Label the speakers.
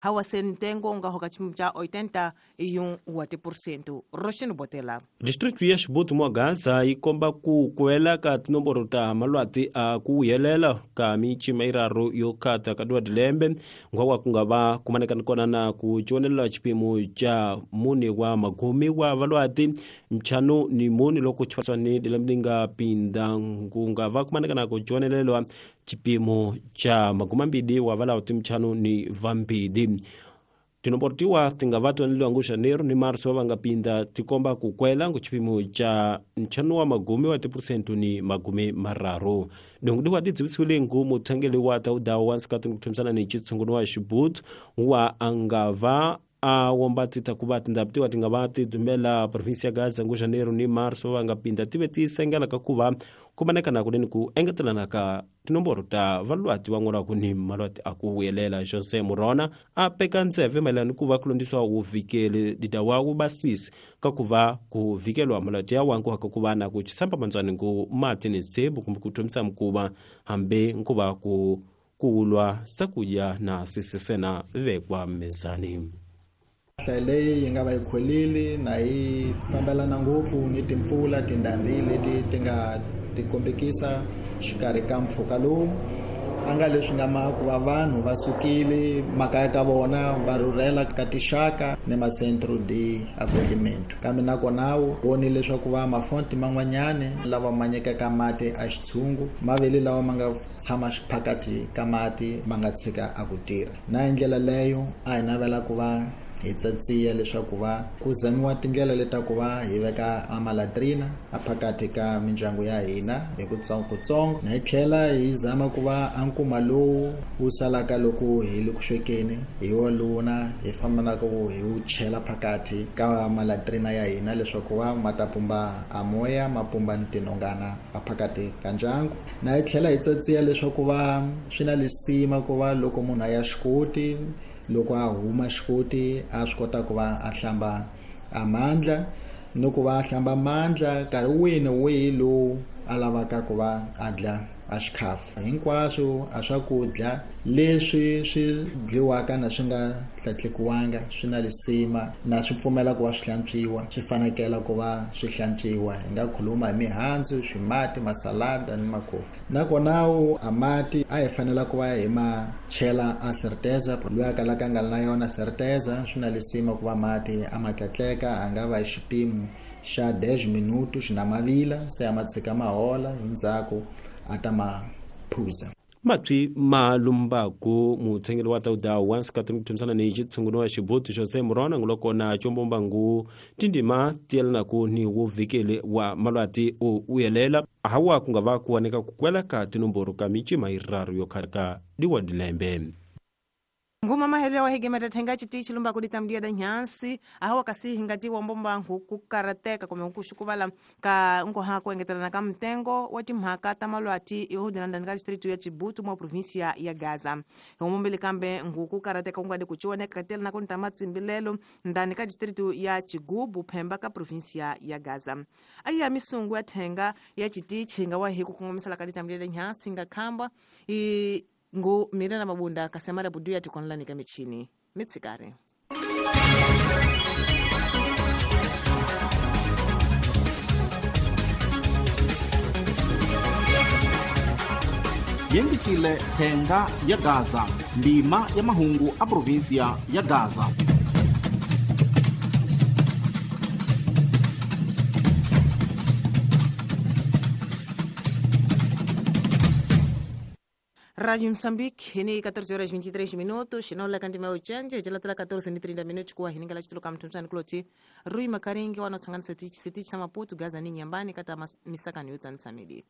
Speaker 1: Hawa se ntengo nga hoka chipimo cha 81% Roshin Botela.
Speaker 2: District ya Xibutu mwa Gaza yi komba ku kwela ka tinomboro ta malwati a ku vuyelela ka mincima iraru yo khata ka dilembe ngwawa ku nga va kumaneka kona na ku tjonelela xipimo xa mune wa magume wa valwati ntlhanu ni mune loko xifaniso ni lembe li nga pinda ku nga va kumaneka na ku tjonelelwa xipimo xa magumambili wa valawuti ntlhanu ni vambili. Tinomboro tiwa ti nga va twaneliwa ngu Janeiro ni Marso va nga pinda ti komba ku kwela ngu xipimo xa ntlhanu wa magume wa tiphurusente ni magume mararu. Dongo diwa ti dzivisiwile ngu muthangeli wa tawudawu wa nsikati ni ku thumisana ni xitshungulo wa Xibutu wa a nga va a womba ti ta ku va tindhawu tiwa ti nga va ti dumela provinsi ya Gaza ngu Janeiro ni Marso va nga pinda ti ve ti sengela ka ku va kumaneka na kunene ku engetelana ka tinomboro ta valwati van'wana ni malwati a ku vuyelela. Jose Murona a peka ntseve mayelana ni ku va ku londisiwa wuvikeli lidawa wu basisi ka ku va ku vikelwa malwati ya wangu ka ku va na ku chisamba mandzwani ngu mati ni nsebu kumbe ku thomisa mikuva hambi nkuva ku kuwulwa sakudya na sisisena vekwa mezani.
Speaker 3: Nhlayo leyi yi nga va yi kholile na yi fambelana ngopfu ni timpfula tindhambi leti ti nga tikombekisa xikarhi ka mpfhuka lowu a nga leswi nga ma ku va vanhu va sukile makaya ka vona va rhurhela ka tixaka ni macentro de acolhimento kambe nakona wu voni leswaku va mafonti man'wanyani lava ma nyikaka mati a xitshungu mavele lawa ma nga tshama xiphakati ka mati ma nga tshika a ku tirha na hi ndlela leyo a hi navela ku va hi tsatsiya leswaku va ku zamiwa tindlela leta ku va hi veka a malatrina a phakathi ka mindyangu ya hina hi kutsongokutsongo na hi tlhela hi zama ku va a nkuma lowu wu salaka loko hi le ku swekeni hi woluna hi fambanaka hi wu chela phakathi ka malatrina ya hina leswaku va ma ta pumba a moya ma pumba ni tinhongana a phakathi ka ndyangu na hi tlhela hi tsatsiya leswaku va swi na lisima ku va loko munhu a ya xikoti loko a huma xikoti a swi kota ku va a hlamba a mandla ni ku va a hlamba mandla nkarhi wihi ni wihi lowu a lavaka ku va a dla a xikhafu hinkwaswo a swakudya leswi swi dliwaka na swi nga hlatlekiwanga swi na lisima na swi pfumela ku va swi hlantswiwa swi fanekela ku va swi hlantswiwa hi nga khuluma hi mihandzu swimati masalada ni makofi nakona a mati a hi fanela ku va hi ma chela a certeza loyi a kalaka a nga ri na yona certeza swi na lisima ku va mati a ma tlatleka a nga va hi xipimo xa 10 minutos xi na mavila se a ma tshika ma hola hi ndzhaku a ta ma phuza.
Speaker 2: Matwi ma lumbaku mutshengeli wa tawudawu wa nsikati ni ku thumisana ni xitshungulo wa Xibutu Jose Murona nguloko na combomba ngu tindima ti yelanaku ni wuvikeli wa malwati u vuyelela hawa ku nga va ku waneka ku kwela ka tinomboro ka micima yiraru yo khaka diwa dilembe.
Speaker 1: Nguma mahele wa higema thenga chitichi lumba kulitamdia da nyansi ahawa kasi hingati wa mbomba kukarateka kumbe kuxukuvala ka nkoha ku engetelana ka mtengo wa timhaka ta malwati yo ndani ka district ya Chibutu mwa provinsia ya Gaza. Homombele kambe nguku karateka kungadi kuchioneka katela na kunta matsimbilelo ndani ka district ya Chigubu Phemba ka provinsia ya Gaza. Aya misungu ya thenga ya chitichi nga wa hiku kungomisala ka litamdia da nyansi nga khamba i ngu mirena mabunda kasemara budu ya tikonlani ka michini mitsikare.
Speaker 4: Yengisile thenga ya Gaza ndima ya mahungu a provinsia ya Gaza.
Speaker 1: Rádio Moçambique, ni 14 horas 23 minutos, não lá canto meu change, já lá 14 e 30 minutos com a hininga lá titulo kamtumsani kloti. Rui Makaringi wanotsangana setichi setichi sa Maputo Gaza ni nyambani kata misaka ni utsanitsamidi.